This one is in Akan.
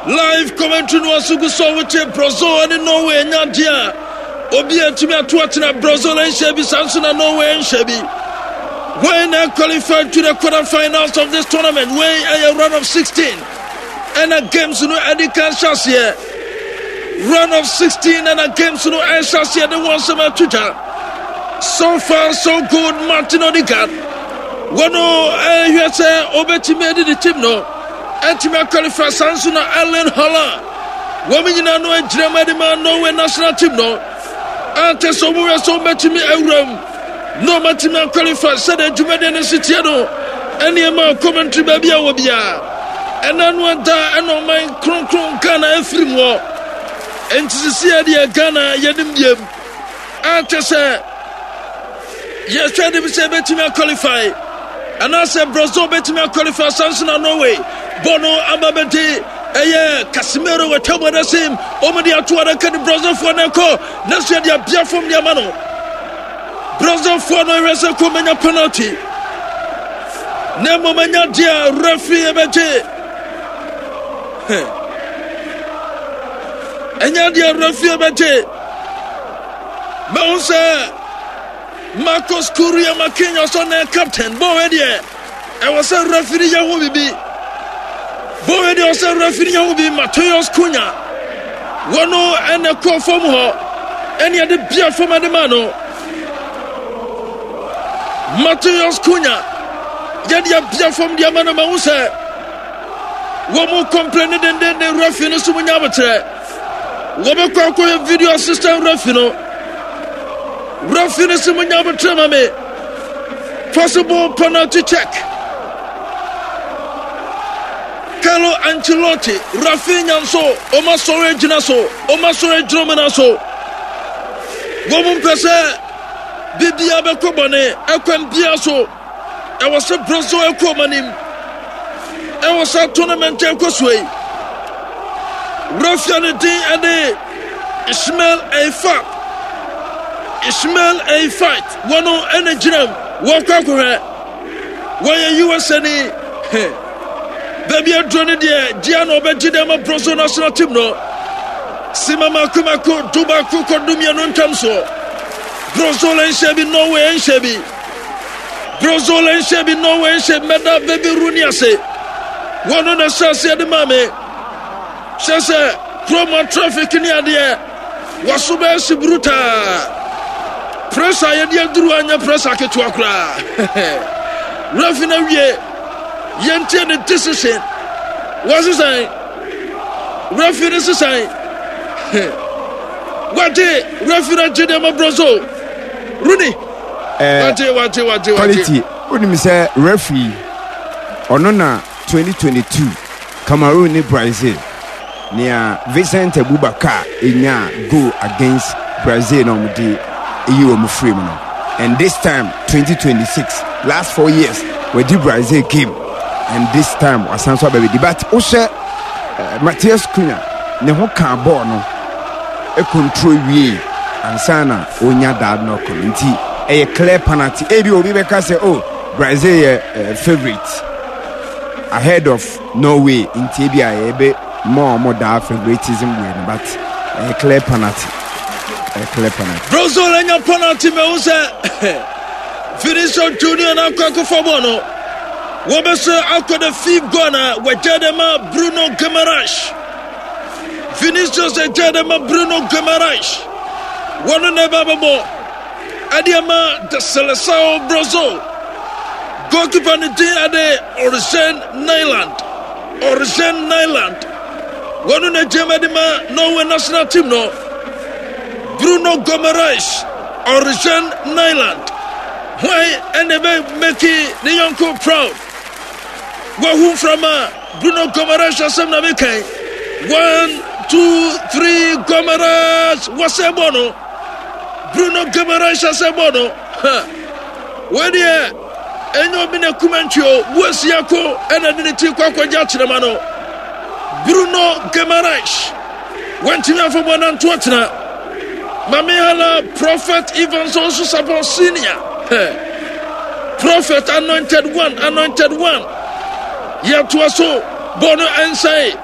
Live commentary no aso gu so a wotie Brazil ne Norway anya adeɛ a obi atumi ato atena. Brazil nhyɛ bi, saa nso na Norway nhyɛ bi. When I qualified to the quarterfinals of this tournament, wei ɛyɛ round of 16 ɛna games no ɛde kan hyɛ aseɛ. Round of 16 ɛna games no ɛhyɛ aseɛ de wɔn nsɛm ato dwa. So far so good. Martin Odegaard wɔn ɛhwɛ sɛ ɔbɛtumi adi ne team no atumi akɔlifa, saa nso na Erling Haaland. Wɔn nyinaa no agyina mu de ma Norway national team no ante sɛ wɔn wɛ sɛ wɔbɛtumi awura mu na wɔatumi akɔlifa. Sɛdeɛ dwumadie no si tie no, ɛnneɛma commentary baabi a wɔ biara ɛna no ɛda ɛna ɔman kronkron Ghana afiri mu hɔ. Nti sisi yɛ deɛ Ghana yɛnim biem ante sɛ yɛhwɛ anim sɛ ɛbɛtumi aqualify anaasɛ Brazil bɛtumi aqualify, sanso na Norway bɔ no aba bɛde ɛyɛ Casemiro wɔtwa mu adasim wɔn de ato adaka ne Brazilfoɔ no ɛkɔ nanso yɛde abia fam de ama no. Brazilfoɔ no ɛhwɛ sɛ kɔ manya penalty na mmom anya deɛ referee ɛbɛgye, ɛnya deɛ referee ɛbɛgye. Mɛhu sɛ Marcos Kuria Marquinhos ɔne captain bɔɔl deɛ ɛwɔ sɛ referee yɛ ho bibi. Bɔɔl deɛ ɔsɛ referee yɛ ho bibi. Mateus Cunha wɔn ɛna kɔɔ fam hɔ ɛne ɛde bia fam ɛde ma no. Mateus Cunha yɛde abia fam de ama no. Ma ho sɛ wɔn mu complain dendenden referee no so mu nya abokyerɛ. Wɔbɛkɔ akɔyɛ video assistant referee no. Referee no sɛ munya abotrɛ ma me, possible penalty check. Carlo Ancelotti, Rafinha nso ɔma sɔre agyina so, ɔma sɔre agyina ɔmo nan so. Wɔn mpɛ sɛ biribiara bɛkɔ bɔne ɛkwan biara so. Ɛwɔ sɛ Brazil ɛkɔ ɔmo anim ɛwɔ sɛ tournament ɛkɔ so yi. Rafia ne din ɛne Ismail Eifat. Ismail Eifat wɔn ɛna gyina mu wɔkɔ akɔhwɛ. Wɔyɛ USA ni. Baabi aduro no deɛ gyea na ɔbɛgye dɛ ma Brazil national team no. Sima mako mako 11 kɔ 12 ntam soɔ. Brazil nhyɛ bi, Norway nhyɛ bi. Brazil nhyɛ bi, Norway nhyɛ bi. Mɛda Baby Rooney ase. Wɔn na ɛhyɛ aseɛ de maa me. Hyɛ sɛ kurom traffic ne adeɛ waso bɛyɛ si brutaa. Pressure yɛde aduru anyɛ pressure ketewa koraa. Refi na wie yɛntie ne decision. Wɔsesan refi ne sesan. Wagye refi na gye deɛ ma Brazil. Rooney. Wagye wagye wagye wagye. Quality wonim sɛ referee ɔno na 2022 Cameroon ne Brazil nea Vincent Abubakar enya goal against Brazil na wɔde eyi wɔn firi mu no, and this time 2026, last 4 years wɔdi Brazil game and this time wasan so abɛbɛdi. But wohyɛ Matthias Cunha ne ho kaa bɔɔl no control wie ansa na onya that knock no, nti ɛyɛ clear penalty. Ebi obi bɛka sɛ, oh, Brazil yɛ favourite ahead of Norway, nti ebi a yɛbɛ more ɔmo daa favoritism wei no, but ɛyɛ clear penalty, ɛyɛ clear penalty. Brazil anya penalty. Mɛhu sɛ Vinicius Junior na akɔ akɔfa bɔɔl no. Wɔbɛsɛ akɔ the fifth goal na wɔagya de ma Bruno Guimaraes. Vinicius agya de ma Bruno Guimaraes. Wɔno na ɛba bɛbɔ ɛde ama the Seleção Brazil. Goalkeeper ne din ɛde Orzen Nyland. Orzen Nyland. Wɔno na agya ma de ma Norway national team no. Bruno Guimaraes, Orzen Nyland. Hwan ɛna ɛbɛ make ne yɔnko proud? Wahu mframa. Bruno Guimaraes asɛm na mekan. One, two, three, Guimaraes wɔsɛ bɔ no. Bruno Guimaraes asɛ bɔ no. Ha. Wei deɛ ɛnyɛ obi na kuma ntwi o. Buasia ko ɛna de ne ti kɔ akɔgye akyerɛma no. Bruno Guimaraes wantumi afɔbɔ nanto atena. Mame Hala Prophet Evans also support senior. Prophet anointed one, anointed one. Yɛtoa so bɔ no ɛnsae.